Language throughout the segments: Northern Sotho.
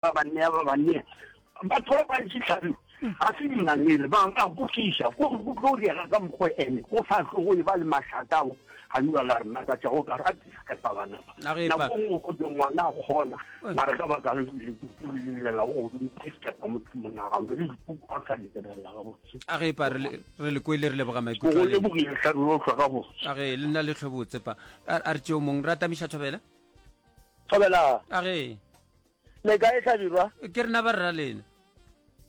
Ba ba nea, ba ba nea. Batho ba bantši hlabirwa, ga se dingangele, ba ba kwešiša, go go tlo diega ka mokgwa ene, go sa tlo go eba le mašata ao ga jwa la re makatša go ka ra diskepa bana ba. A re Nako nngwe go twe ngwana a kgona, mara ka baka la lekuku le llela go godimo diskepa motho monagano le dipuku a sa di lebelela gabotse. A re pa re le re le kwele re leboga Go maikutlo go a lena. lebogile hlabirwa o hlwa gabotse. A re le nna le hlobotse pa. A a re tšeo mong ra tamiša thobela. Thobela. A re. Le kae Hlabirwa? Ke rena ba rra lena.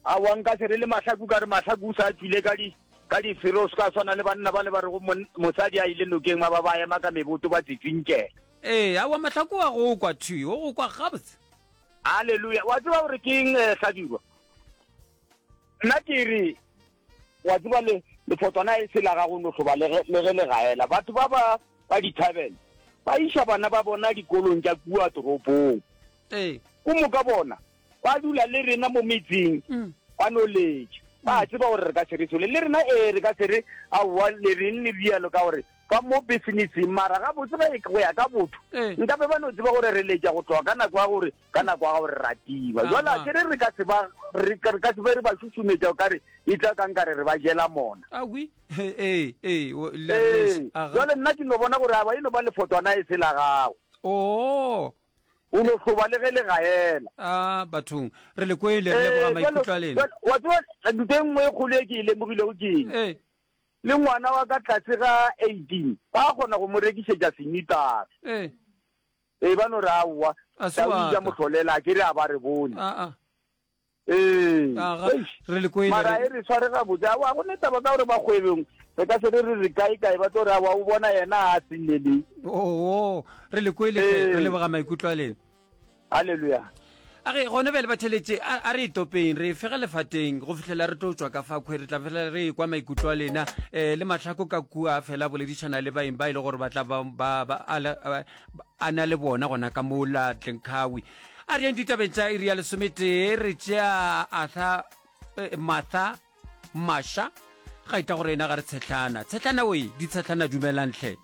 Aowa nka se re le Mahlaku ka re Mahlaku o sa tšwile ka di ka difero o se ka swana le banna bale ba rego mosadi a ile nokeng ba ba ba ema ka meboto ba tsitsinkela. Ee, aowa Mahlaku wa go kwa thwi, o go kwa gabotse. Haleluya. Wa tseba gore ke eng eh, Hlabirwa? Nna ke re wa tseba le lefotwana e se la gago no hloba le ge le ge le gaela. Batho ba ba ba di-tavern ba iša bana ba bona dikolong tša kua toropong. Ee. Ko moka bona ba dula le rena mo metseng Mm. ba no letša. Ba tseba gore re ka se re sole le rena ee re ka se re aowa le reng le rialo ka gore ba mo businesseng mara gabotse ge go ya ka botho Ee. nkabe ba no tseba gore re letša go tloga ka nako ya gore ka nako ya gore ra tima. Jwale a Aha. ke re re ka se ba re ka re ka se be re ba šušumetša o ka re e tla ka nkare re ba jela mona. Awi. Ee, ee, o- le Ee, aga. jwale nna ke no bona gore aba e no ba lefotwana e se la gago. Oo. O no hloba le ge le gaela. A bathong, re le kwele, re leboga Ee, jwale maikutlo a lena. jwale wa tseba ntho e nngwe e kgolo e ke e lemogilego ke eng? Ee. Le ngwana wa ka tlase ga 18 ba kgona go mo rekišetša senitara. Ee. Ee, ba no re aowa, A se tau wa ja ka. mohlolela, a ke re a ba re bone. Aa. Ee. Aga, Eish. re le kwele. Mara Re e re sware gabotse. Aowa, go ne taba ka gore ba kgwebong re ka se re re re kae kae ba tlo re aowa o bona yena a se Oo, re le kwele hle, re Ee. leboga maikutlo a lena. Haleluya. A re gone bjale batheletše a a re itopeng re fege lefateng go fihlela re tlo tšwa ka fa kgwe re tla fela re ekwa maikutlo a lena um le mahlako ka kua fela boledišana le baeng ba e le gore ba tla ba ba ba a le- a a na le bona gona ka mo la Tlenkhawi a re yeng ditabeng tša iri ya lesometee re tšea Arthur eh, Martha Masha ga ita gore ena ga re tshehlana tshehlana oe ditshehlana dumelang hle.